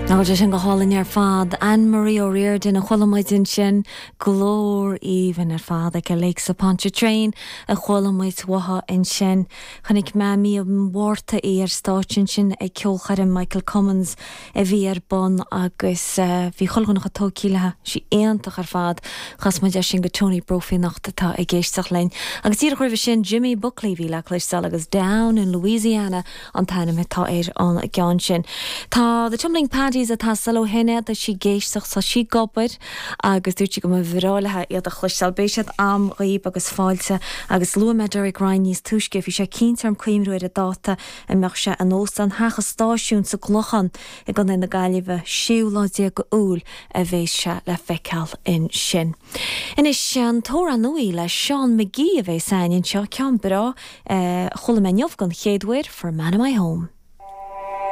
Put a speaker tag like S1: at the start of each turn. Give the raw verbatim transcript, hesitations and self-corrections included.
S1: Ná sé sin go hálainn ar fad Anne-Marie O'Riordan a chuala muid ansin glór aoibhinn ar fad aici Lakes of Pontchartrain a chuala muid uaithi ansin. Chonaic mé mí an Mhárta í ar stáitse ansin ag ceolchoirm Michael Cummins a bhí ar bun agus uh, bhí chuile dhuine tógtha léi sí iontach ar fad chas muid sin go Tony Brophy anocht atá ag éisteacht linn. Agus díreach roimhe sin Jimmy Buckley bhí le cloisteáil agus Down in Louisiana an t-ainm atá ar an gceann sin. Tá the Tumbling Paddies atá ó hinne tá sí ag éisteacht tá sí ag obair agus dúirt sí go mba bhreá léi iad a chloisteáil beidh siad am dhaoibh agus fáilte agus luaigh mé Derek Ryan níos túisce bhí sé cinnte orm cuimhniú ar an dáta a mbeadh sé in óstán Theach an Stáisiúin sa gClochán i gContae na Gaillimhe séú lá déag Iúil a bheas sé le feiceáil ansin. Anois an t-amhrán nua le Seán McGee a bheas againn anseo ceann breá chuala mé inniu den chéad uair for Man in My Home.